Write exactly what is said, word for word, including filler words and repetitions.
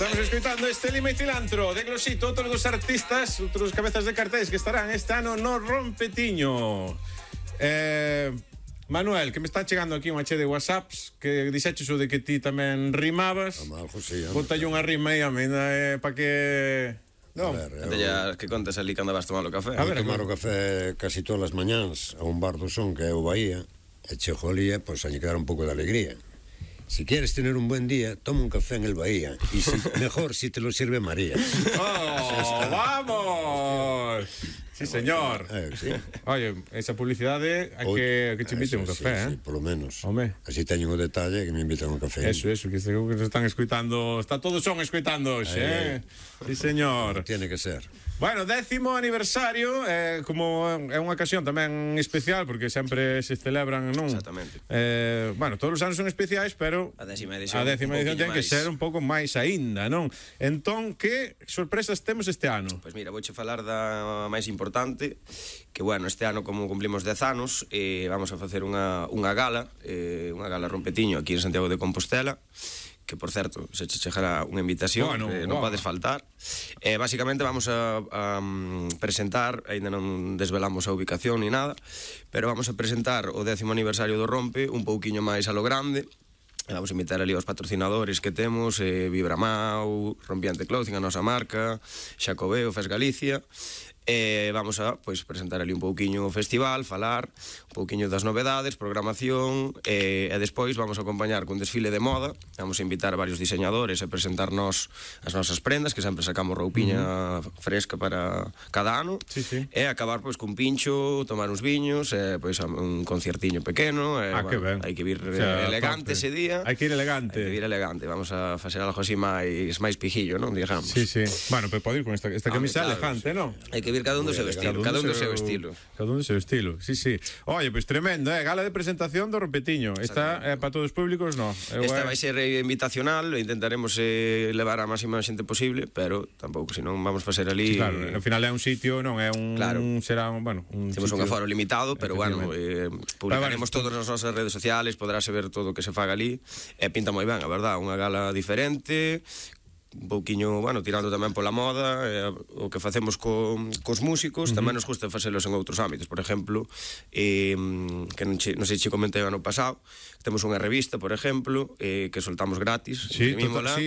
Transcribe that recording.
Estamos escoitando este Lima e Cilantro de Glosito, outros dos artistas, outros cabezas de cartéis que estarán este ano no Rompetiño. Eh, Manuel, que me está chegando aquí unha che de whatsapps que dixeches o de que ti tamén rimabas. Amaljo, sí. Bótalle unha rima aí, a mí, eh, para que... No. A ver, eu... ya que contes ali cando vas tomar o café. A ver, tomar o café casi todas as mañáns a un bar do Son que é o Bahía, e chego ali, pois, pues, a lle quedar un pouco de alegría. Si quieres tener un buen día, toma un café en el Bahía. Y si, mejor si te lo sirve María. ¡Oh, vamos! Sí, señor. Eh, sí. Oye, esa publicidade a que, a que te inviten un café, sí, eh? Sí, polo menos. Home. Así teñen o detalle que me invitan un café. Eso, eso, que seguro que nos están escoitando. Está todos son escoitando hoxe, eh? Sí, señor. Tiene que ser. Bueno, décimo aniversario, eh, como é unha ocasión tamén especial, porque sempre se celebran, non? Exactamente. Eh, bueno, todos os anos son especiais, pero a décima edición, a décima edición ten que ser un pouco máis aínda, non? Entón, que sorpresas temos este ano? Pois mira, vouche falar da máis importante, que bueno, este ano como cumplimos dez anos, eh, vamos a facer unha, unha gala, eh, unha gala Rompetiño aquí en Santiago de Compostela, que por certo, se che chegará unha invitación, bueno, que non wow. podes faltar. Eh, basicamente vamos a, a um, presentar, ainda non desvelamos a ubicación ni nada, pero vamos a presentar o décimo aniversario do Rompe un pouquiño máis a lo grande. Vamos a invitar ali aos patrocinadores que temos, eh, Vibramau, Rompiente Clothing, a nosa marca, Xacobeo, Fes Galicia. E vamos a pois, presentar ali un pouquiño o festival, falar un pouquiño das novedades, programación, e, e despois vamos a acompañar cun desfile de moda. Vamos a invitar a varios diseñadores a presentarnos as nosas prendas, que sempre sacamos roupiña uh-huh. fresca para cada ano. Sí, sí. E acabar pois cun pincho, tomar uns viños, e pois un conciertiño pequeno. E, ah, bueno, que ben. Hai que vir o sea, elegante tope. ese día. Hai que ir elegante. Hai que ir elegante. Vamos a facer algo así máis máis pijillo, non? Digamos. Sí, sí. Bueno, pero pode ir con esta, esta ah, camisa claro, elegante, sí. non? Hai que vir cada un do seu estilo, cada un do seu estilo. Cada un do seu estilo, sí, sí. Oye, pois pues tremendo, eh? Gala de presentación do Rompetiño. Esta é eh, para todos os públicos, non? Esta vai ser invitacional, intentaremos eh, levar a máxima xente posible, pero tampouco, senón vamos facer ali... Sí, claro, ao final é un sitio, non é un... Claro. Será, bueno, un Temos sitio... un aforo limitado, pero bueno, eh, publicaremos bueno, todas as nosas redes sociales, podráse ver todo o que se faga ali, e pinta moi ben, a verdad, unha gala diferente, un pouquiño, bueno, tirando tamén pola moda, eh, o que facemos co, cos músicos, uh-huh. tamén nos gusta facelos en outros ámbitos. Por exemplo, eh, que non, che, non sei se comentei o ano pasado, temos unha revista, por exemplo, eh, que soltamos gratis, sí, total, sí,